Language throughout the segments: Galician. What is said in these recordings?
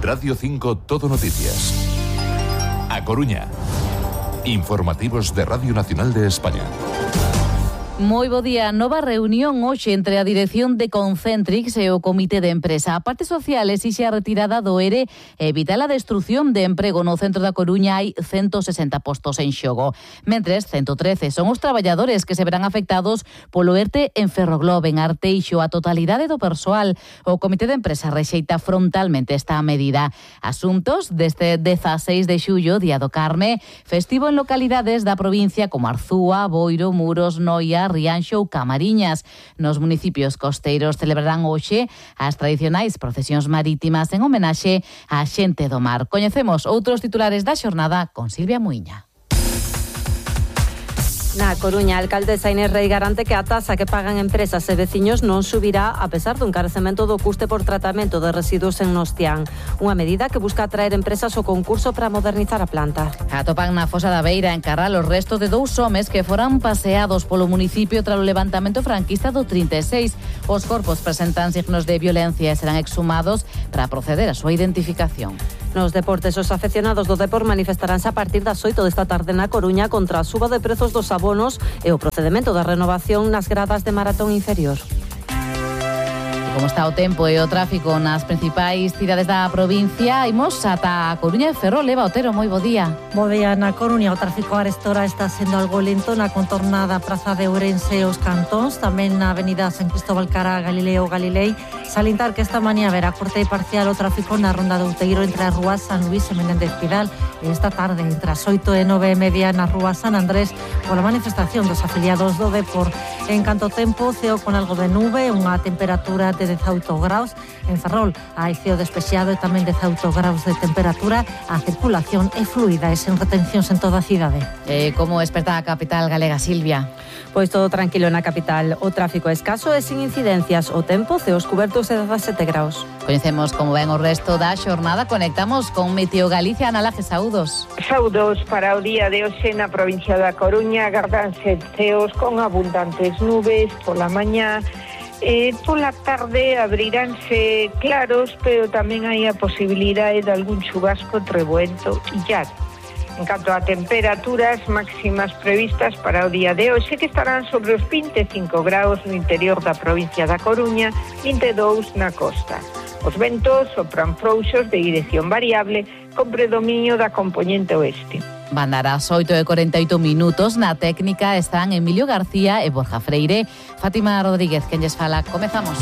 Radio 5 Todo Noticias. A Coruña. Informativos de Radio Nacional de España. Moi bo día. Nova reunión hoxe entre a dirección de Concentrix e o comité de empresa. A parte social exixe a retirada do ERE e evitar a destrución de emprego. No centro da Coruña hai 160 postos en xogo. Mentres, 113 son os traballadores que se verán afectados polo ERTE en Ferroglobe, en Arteixo. A totalidade do persoal. O comité de empresa rexeita frontalmente esta medida. Asuntos deste 16 de xullo, Día do Carme, festivo en localidades da provincia como Arzúa, Boiro, Muros, Noia, Rianxo ou Camariñas. Nos municipios costeiros celebrarán hoxe as tradicionais procesións marítimas en homenaxe á xente do mar. Coñecemos outros titulares da xornada con Silvia Muiña. Na Coruña, a alcaldesa Inés Rei garante que a taxa que pagan empresas e veciños non subirá a pesar do encarecemento do custe por tratamento de residuos en Nostián. Unha medida que busca atraer empresas ao concurso para modernizar a planta. Atopan na Fosa da Beira, en Carral, os restos de 2 homes que foran paseados polo municipio tras o levantamento franquista do 36. Os corpos presentan signos de violencia e serán exhumados para proceder á súa identificación. Nos deportes, os afeccionados do Depor manifestaránse a partir das 8 desta tarde na Coruña contra a suba de prezos dos abonos e o procedemento da renovación nas gradas de maratón inferior. Como está o tempo e o tráfico nas principais cidades da provincia, imos ata a Coruña e Ferrol. Eva Otero, moi bo día. Bo día. Na Coruña o tráfico a esta hora está sendo algo lento na contornada Praza de Ourense e os Cantóns, tamén na avenida San Cristóbal cara a Galileo Galilei. Salientar que esta mañá verá corte parcial o tráfico na ronda de Outeiro entre as rúas San Luís e Menéndez Pidal, e esta tarde entre as 8 e 9:30 na rúa San Andrés pola manifestación dos afiliados do Depor. En canto tempo, ceo con algo de nube, unha temperatura de 18 graus. En Ferrol hai ceo despexado e tamén 18 graus de temperatura. A circulación é fluida e sen retencións en toda a cidade. Como esperta a capital galega, Silvia? Pois todo tranquilo na capital. O tráfico é escaso e sin incidencias. O tempo, ceos cubertos e 17 graus. Coñecemos como ven o resto da xornada. Conectamos con Meteo Galicia. Ana Laje, saúdos. Saúdos para o día de hoxe na provincia da Coruña. Agardanse ceos con abundantes nubes pola mañá. Pola tarde abriránse claros, pero tamén hai a posibilidade de algún chubasco, trebuento e lluvia. En canto a temperaturas máximas previstas para o día de hoxe, que estarán sobre os 25 graus no interior da provincia da Coruña, 22 na costa. Os ventos sopran frouxos de dirección variable con predominio da compoñente oeste. Van dar as 8:48. Na técnica están Emilio García e Borja Freire. Fátima Rodríguez, quen lles fala. Comezamos.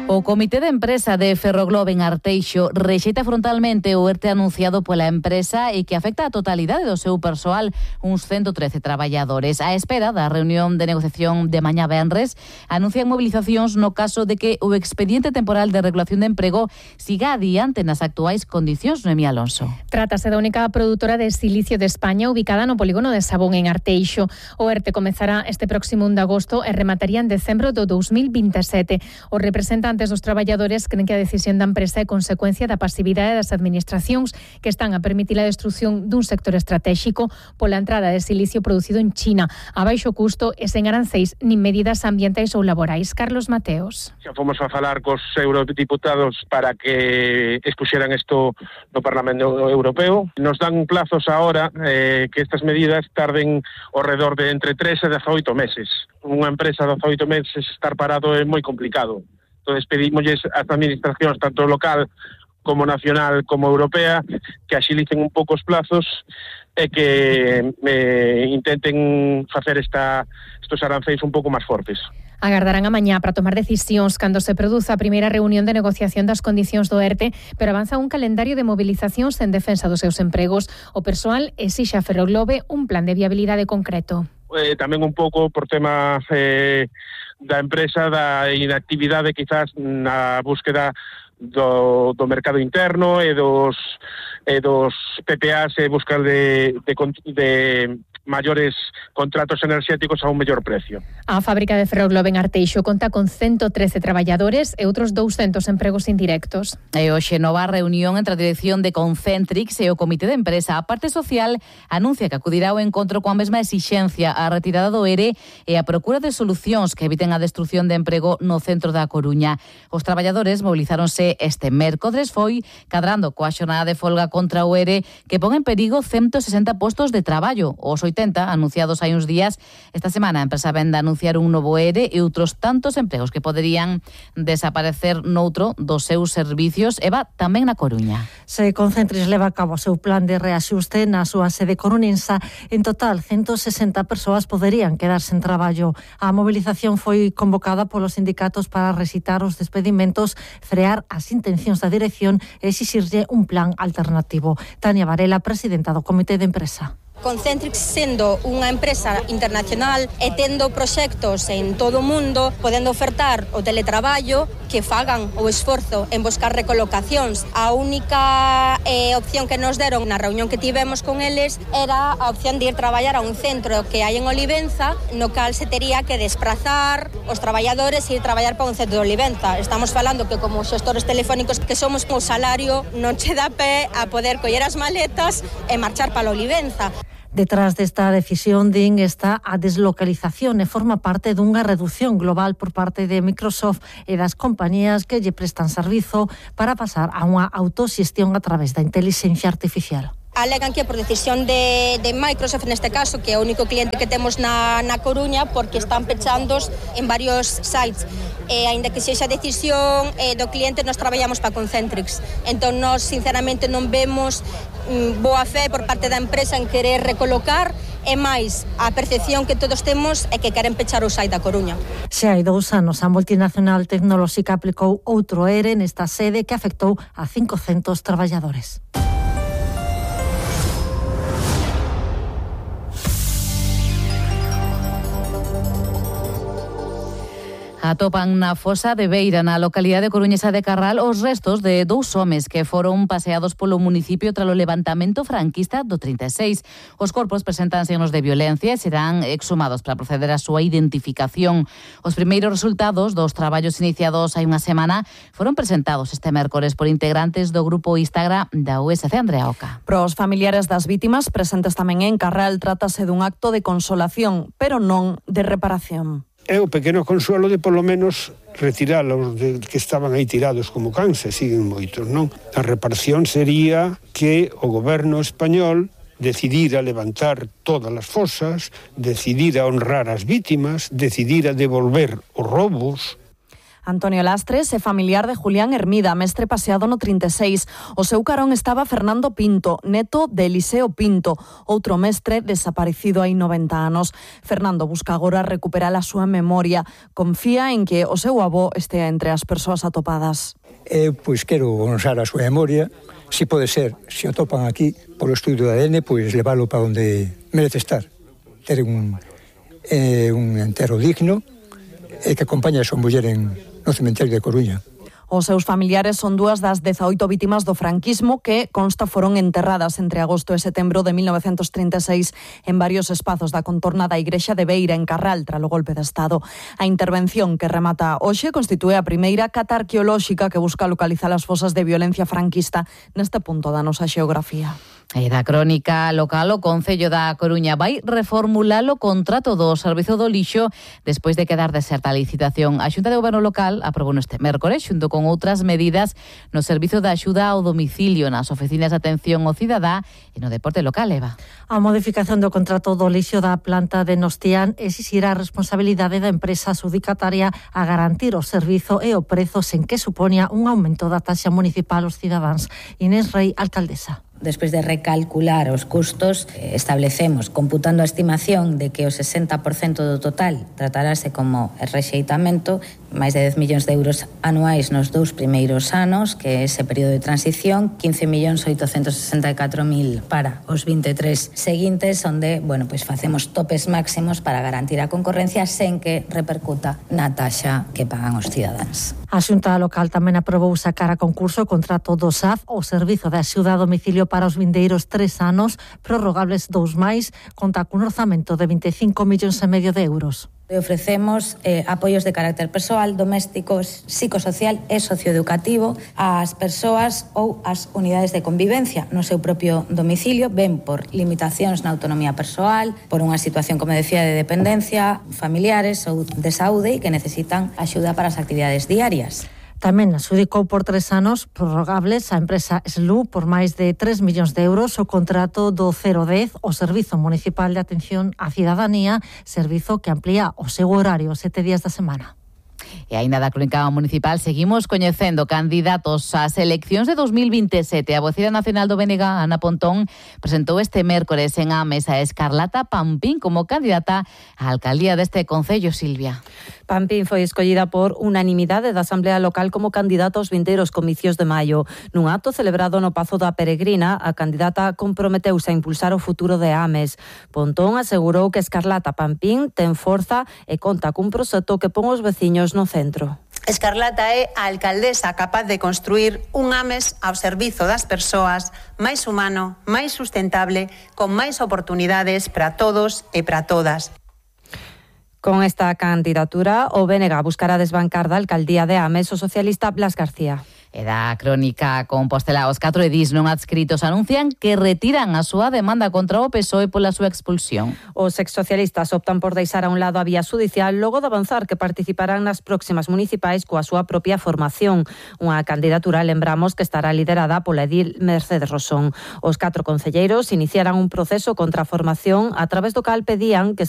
O comité de empresa de Ferroglobe en Arteixo rexeita frontalmente o ERTE anunciado pola empresa e que afecta a totalidade do seu persoal, uns 113 traballadores. A espera da reunión de negociación de mañá venres, anuncian movilizacións no caso de que o expediente temporal de regulación de emprego siga adiante nas actuais condicións. Noemí Alonso. Trátase da única produtora de silicio de España ubicada no polígono de Sabón en Arteixo. O ERTE comezará este próximo 1 de agosto e remataría en decembro do 2027. Os representantes dos traballadores creen que a decisión da empresa é consecuencia da pasividade das administracións que están a permitir a destrucción dun sector estratégico pola entrada de silicio producido en China a baixo custo e sen aranceis nin medidas ambientais ou laborais. Carlos Mateos. Xa fomos a falar cos eurodiputados para que expuxeran isto no Parlamento Europeo. Nos dan plazos agora que estas medidas tarden ao redor de entre 3 e 18 meses. Unha empresa de 18 meses estar parado é moi complicado. Entón, pedimosles ás administracións, tanto local como nacional como europea, que axilicen un pouco os plazos e que intenten facer estos aranceis un pouco máis fortes. Agardarán a mañá para tomar decisións cando se produza a primeira reunión de negociación das condicións do ERTE, pero avanza un calendario de movilizacións en defensa dos seus empregos. O persoal exixe a Ferroglobe un plan de viabilidade concreto. Tamén un pouco por tema da empresa, da inactividade quizás na búsqueda do mercado interno e dos PPAs e buscar de maiores contratos enerxéticos a un mellor precio. A fábrica de Ferroglobe en Arteixo conta con 113 traballadores e outros 200 empregos indirectos. E hoxe nova reunión entre a dirección de Concentrix e o comité de empresa. A parte social anuncia que acudirá ao encontro coa mesma exixencia a retirada do ERE e a procura de solucións que eviten a destrución de emprego no centro da Coruña. Os traballadores mobilizáronse este mércores, foi cadrando coa xornada de folga contra o ERE que pon en perigo 160 postos de traballo. Os 80 anunciados hai uns días. Esta semana a empresa vende a anunciar un novo ERE e outros tantos empregos que poderían desaparecer noutro dos seus servicios. Eva, tamén na Coruña. Se Concentrix leva a cabo o seu plan de reaxuste na súa sede coruñensa, en total 160 persoas poderían quedar sen traballo. A movilización foi convocada polos sindicatos para recitar os despedimentos, frear as intencións da dirección e exixirlle un plan alternativo. Tania Varela, presidenta do comité de empresa. Concentrix, sendo unha empresa internacional e tendo proxectos en todo o mundo, podendo ofertar o teletraballo, que fagan o esforzo en buscar recolocacións. A única opción que nos deron na reunión que tivemos con eles era a opción de ir traballar a un centro que hai en Olivenza, no cal se tería que desprazar os traballadores e ir traballar para un centro de Olivenza. Estamos falando que como xestores telefónicos que somos, o salario non che dá pé a poder coller as maletas e marchar para Olivenza. Detrás desta decisión, din, está a deslocalización e forma parte dunha reducción global por parte de Microsoft e das compañías que lle prestan servizo para pasar a unha autoxestión a través da inteligencia artificial. Alegan que por decisión de Microsoft, neste caso, que é o único cliente que temos na Coruña, porque están pechandos en varios sites. E aínda que sexa decisión do cliente, nós traballamos para Concentrix. Entón, nós, sinceramente, non vemos boa fe por parte da empresa en querer recolocar, e máis a percepción que todos temos é que queren pechar o site da Coruña. Se hai 2 anos, a multinacional tecnolóxica aplicou outro ERE nesta sede que afectou a 500 traballadores. Atopan na fosa de Beira, na localidade coruñesa de Carral, os restos de 2 homes que foron paseados polo municipio tralo levantamento franquista do 36. Os corpos presentan signos de violencia e serán exhumados para proceder á súa identificación. Os primeiros resultados dos traballos iniciados hai unha semana foron presentados este mércores por integrantes do grupo Instagram da USC Andrea Oca. Pros familiares das vítimas presentes tamén en Carral, trátase dun acto de consolación, pero non de reparación. É o pequeno consuelo de polo menos retiralos que estaban aí tirados como cans, e siguen moitos, non? A reparación sería que o goberno español decidira levantar todas as fosas, decidira honrar as vítimas, decidira devolver os robos. Antonio Lastres é familiar de Julián Hermida, mestre paseado no 36. O seu carón estaba Fernando Pinto, neto de Eliseo Pinto, outro mestre desaparecido hai 90 anos. Fernando busca agora recuperar a súa memoria. Confía en que o seu avó estea entre as persoas atopadas. Pois quero honrar a súa memoria. Si pode ser, se o topan aquí, polo estudio de ADN, pois leválo para onde merece estar. Ter un entero digno e que acompañe a súa muller no cemiterio de Coruña. Os seus familiares son 2 das 18 vítimas do franquismo que consta foron enterradas entre agosto e setembro de 1936 en varios espazos da contorna da igrexa de Beira en Carral tralo golpe de Estado. A intervención que remata hoxe constitúe a primeira cata arqueolóxica que busca localizar as fosas de violencia franquista neste punto da nosa xeografía. E da crónica local, o Concello da Coruña vai reformular o contrato do servizo do lixo despois de quedar deserta a licitación. A Xunta de Goberno local aprobou este mércores xunto con outras medidas no servizo de axuda ao domicilio, nas oficinas de atención ao cidadá e no deporte local, Eva. A modificación do contrato do lixo da planta de Nostián exixirá a responsabilidade da empresa adjudicataria a garantir o servizo e o prezo sen que supoña un aumento da taxa municipal aos cidadáns. Inés Rey, alcaldesa. Despois de recalcular os custos, establecemos, computando a estimación de que o 60% do total tratarase como rexeitamento, máis de 10 millóns de euros anuais nos 2 primeiros anos, que é ese período de transición, 15.864.000 para os 23 seguintes, onde, pois facemos topes máximos para garantir a concorrencia sen que repercuta na taxa que pagan os cidadáns. A Xunta Local tamén aprobou sacar a concurso o contrato do SAF, o Servizo de Axuda a Domicilio para os vindeiros 3 anos, prorrogables 2 máis, conta cun orzamento de 25,5 millóns de euros. Ofrecemos apoios de carácter persoal, doméstico, psicosocial e socioeducativo ás persoas ou ás unidades de convivencia no seu propio domicilio, ben por limitacións na autonomía persoal, por unha situación, como decía, de dependencia, familiares ou de saúde e que necesitan axuda para as actividades diarias. Tamén adxudicou por 3 anos prorrogables a empresa SLU por máis de 3 millóns de euros o contrato do 010, o Servizo Municipal de Atención á Cidadanía, servizo que amplía o seu horario 7 días da semana. E aínda da crónica municipal seguimos coñecendo candidatos ás eleccións de 2027. A vocera nacional do BNG, Ana Pontón, presentou este mércores en Ames a Escarlata Pampín como candidata á alcaldía deste concello, Silvia. Pampín foi escollida por unanimidade da Asamblea Local como candidata aos vindeiros comicios de maio. Nun acto celebrado no Pazo da Peregrina, a candidata comprometeuse a impulsar o futuro de Ames. Pontón asegurou que Escarlata Pampín ten forza e conta cun proxecto que pon os veciños no centro. Escarlata é a alcaldesa capaz de construir un Ames ao servizo das persoas, máis humano, máis sustentable, con máis oportunidades para todos e para todas. Con esta candidatura, o BNG buscará desbancar da alcaldía de Ames o socialista Blas García. E da crónica Compostela, os 4 edís non adscritos anuncian que retiran a súa demanda contra o PSOE pola súa expulsión. Os exsocialistas optan por deixar a un lado a vía judicial logo de avanzar que participarán nas próximas municipais coa súa propia formación. Unha candidatura, lembramos, que estará liderada pola edil Mercedes Rosón. Os 4 concelleiros iniciaran un proceso contra a formación a través do cal pedían que